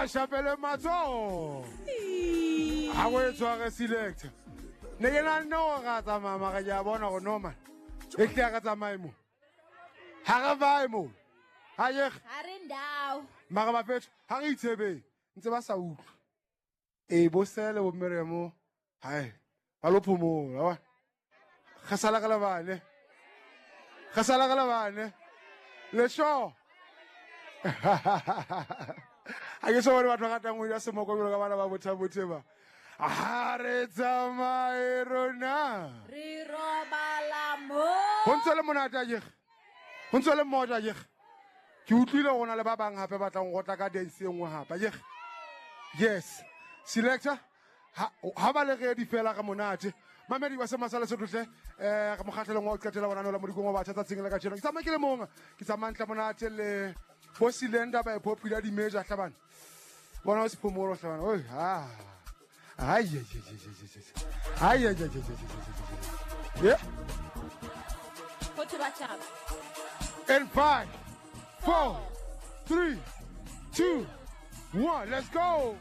shapele matsoho ga o e tshware selector ne ke nanne gore ra tsamaya mara ke a bona gore no man e tle re tsamaye mo ga re bae mo ga yege ga re ndao mara bafetho ga re itshebeng ntse ba sa utlwe ee bo sele bo mmeremo hai ba lo phomola wa re sala ka lebane re sala ka lebane le sure ga ke so bone batho ba ratang go ja semoko jalo ka bana ba bothabothe ba ga re tsamaye rona re robala mo go ntse le monate a jege go ntse le mmoja jege ke utlwile go na le ba bangwe gape ba tlang go tla ka dance e nngwe gape jege yes selector ha ba le ready fela ga monate mamedi wa semasala setlotle um re mokgatlhelong wa o qetela bona nola modikong wa batjha tsatsing la kajeno ke tsamaya ke le mong ke tsamaya ntle monate le bo silenda ba e popular di-major tlhabane bona o sephomolo tlhabane oi ha ai ai ai ai yeah in 5 4 3 2 1 let's go.